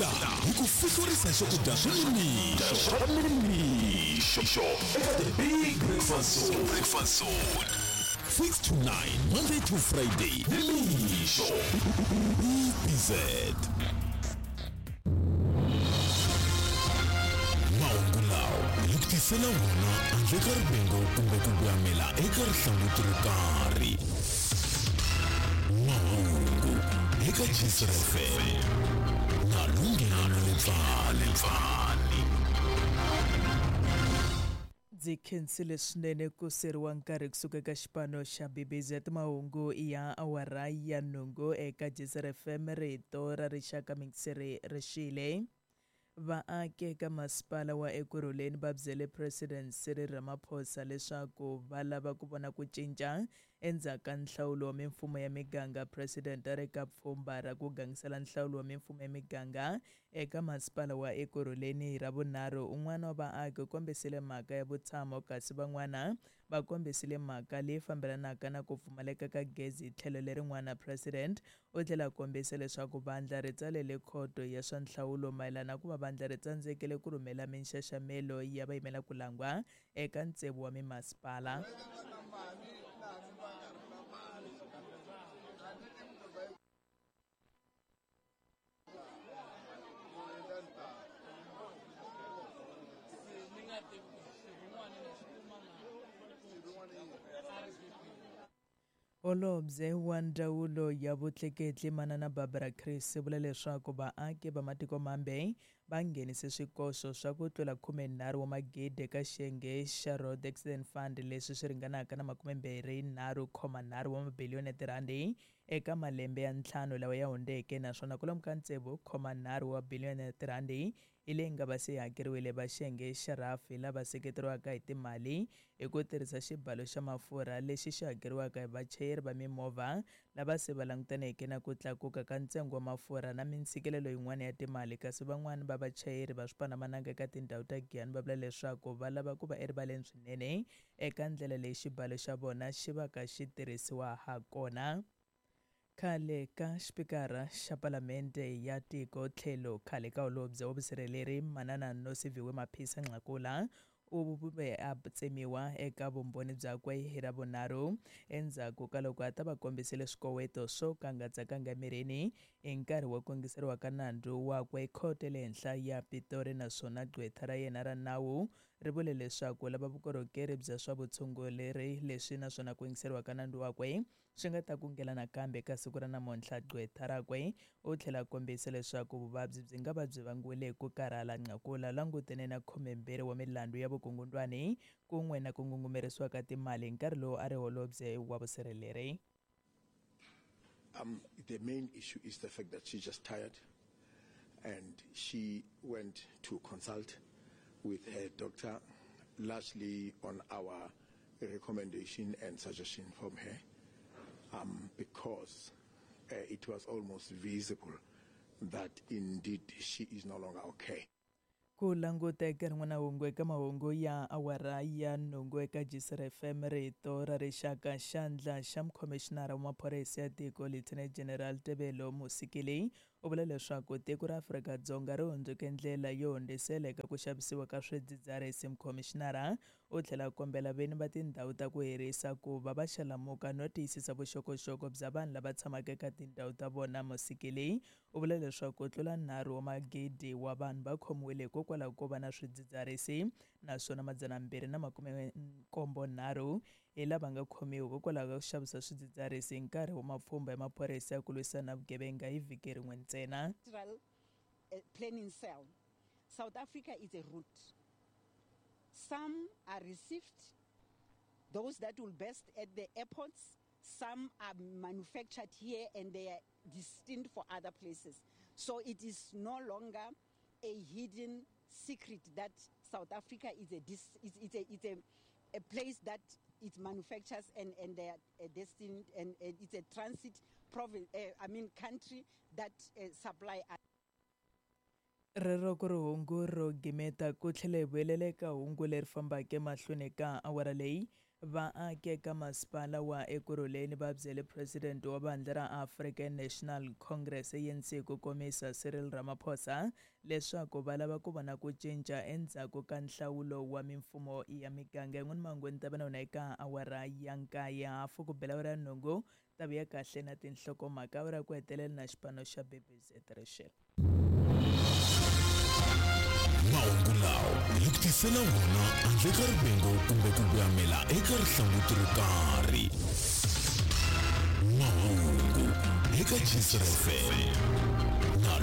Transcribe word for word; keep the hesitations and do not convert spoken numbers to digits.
Laha hi ku fihlurisa swakudya swa nimixo swa nimixo eka The Big Breakfast Zone. Breakfast Zone. six to nine, Monday to Friday. Nimixo. B Z. Mahungu lawa hi ku tisela wona handle ka rivengo kumbe ku voyamela eka rihlanguti ro karhi. Mahungu eka Gcis F M na Lunghelo Lepfani. Ndzi khensile swinene ku seriwa nkarhi kusuka eka xipano xa B B Z. Mahungu ya awara ya nhungu eka Gcis F M, rito ra rixaka mingiseri rixile. Vaaki eka masipala wa Ekurhuleni va byele President Cyril Ramaphosa leswaku va lava ku vona ku cinca endzhaku ka nhlawulo wa mimfumo ya miganga. President a ri ka pfhumba ra ku gangisela nhlawulo wa mimfumo ya miganga eka masipala wa Ekurhuleni hi Ravunharhu. Un'wana wa vaaki u kombisile mhaka ya vutshamo, kasi van'wana va kombisile mhaka leyi fambelanaka na ku pfumaleka ka gezi. Tlhelo lerin'wana, President u tlhela a kombisa leswaku vandla ri tsalele khoto ya swa nhlawulo mayelana ku va vandla ri tsandzekile ku rhumela minxaxamelo ya vayimela ku langwa eka ntsevu wa mimasipala. Holobye wa Ndzawulo ya Vutleketli Manana Barbara Creecy vula leswaku vaaki va matiko mambe va nghenise swikoxo swa ku tlula khumenharhu wa magidi eka xiyenge xa Road Accident Fund, leswi swi ringanaka na makumembirhi nharhu khoma nharhu wa mabiliyoni ya tirhandi eka malembe ya ntlhanu lawa ya hundzeke, naswona kwalomu ka tsevu khoma nharhu wa biliyoni ya tirhandi hi leyi nga va se hakeriwile va xiyenge xa rhafi lava seketeriwaka hi timali hi ku tirhisa xibalo xa mafurha lexi xi hakeriwaka hi vachayeri va mimovha lava se va langutaneke na ku tlakuka ka ntsengo wa mafurha na mintshikelelo yin'wana ya timali. Kasi van'wana va vachayeri va swipandzamananga eka tindhawu ta Giyani va vula leswaku va lava ku va erivaleni swinene eka ndlela leyi xibalo xa vona xi va ka xi tirhisiwa ha kona. Khale ka xipikara xa Palamende ya tiko tlhelo khale ka holobye wa vusirheleri Manana Nosiviwe Mapisa Nqakula u ve a tsemiwa eka vumbhoni byakwe hi Ravunharhu endzhaku ka loko a ta va kombisile swikoweto swo ka nga tsakanga emirini hi nkarhi wa ku yingiseriwa ka nandzu wakwe khoto ya le henhla ya Pitori, naswona gqwetha ra yena ra nawu ri vule leswaku lava vukorhokeri bya swa vutshunguri leswi naswona ku yingiseriwa ka nandzu wakwe swi nga ta kungela nakambe eka siku ra namuntlha. Gqwetha rakwe u tlhela a kombisa leswaku vuvabyi byi nga va byi vangiwile hi ku karhala. Nqakula langutene na khumembirhi wa milandzu ya vukungundwani kun'we na ku ngungumerisiwa ka timali hi nkarhi lowu a ri holobye wa vusirheleri. Um, the main issue is the fact that she's just tired and she went to consult with her doctor, largely on our recommendation and suggestion from her, um, because uh, it was almost visible that indeed she is no longer okay. Ku languta eka rin'wana hungu eka mahungu ya awara ya nhungu eka Gcis F M, rito ra rixaka. Xandla xa mukhomixinara wa maphorisa ya tiko Lieutenant General Tebello Mosikili u vula leswaku tiko ra Afrika-Dzonga ri hundzuke ndlela yo hundzisela eka ku xavisiwa ka swidzidziharisi. Mukhomixinara u tlhela a kombela vini va tindhawu ta ku hirisa ku va va xalamuka no tiyisisa vuxokoxoko bya vanhu lava tshamaka eka tindhawu ta vona. Mosikili u vula leswaku ku tlula nharhu wa magidi wa vanhu va khomiwile hikokwalaho ko va na swidzidziharisi, naswona madzana mbirhi na makume nkombo nharhu hi lava nga khomiwa hikokwalaho ka ku xavisa swidzidziharisi hi nkarhi wa mapfhumba ya maphorisa ya ku lwisana na vugevenga hi vhiki rin'we ntsena. Planning cell. South Africa is a route. Some are received, those that will best at the airports. Some are manufactured here and they are destined for other places. So it is no longer a hidden secret that South Africa is a dis, is, is a, is a, a place that it manufactures and, and they are destined, and, and it's a transit province, uh, I mean country that uh, supply. Rero ku ri hungu ro gimeta ku tlhela hi vuyelela eka hungu leri fambaka emahlweni ka awara leyi. Vaaki eka masipala wa Ekurhuleni va byele President wa vandla ra African National Congress A N C ku komisa Cyril Ramaphosa leswaku va lava ku vona ku cinca endzhaku ka nhlawulo wa mimfumo ya miganga. Yin'wana mangweni ta va na wona eka awara ya nkaye hafu ku bela awara ya nhungu ta vuya kahle na tinhlokomhaka awara ku hetelela na xipano xa B B Z Rachel. Mahungu lawa hi ku tisela wona handle ka rivengo kumbe ku voyamela eka rihlanguti ro karhi. Mahungu eka Jisr F M na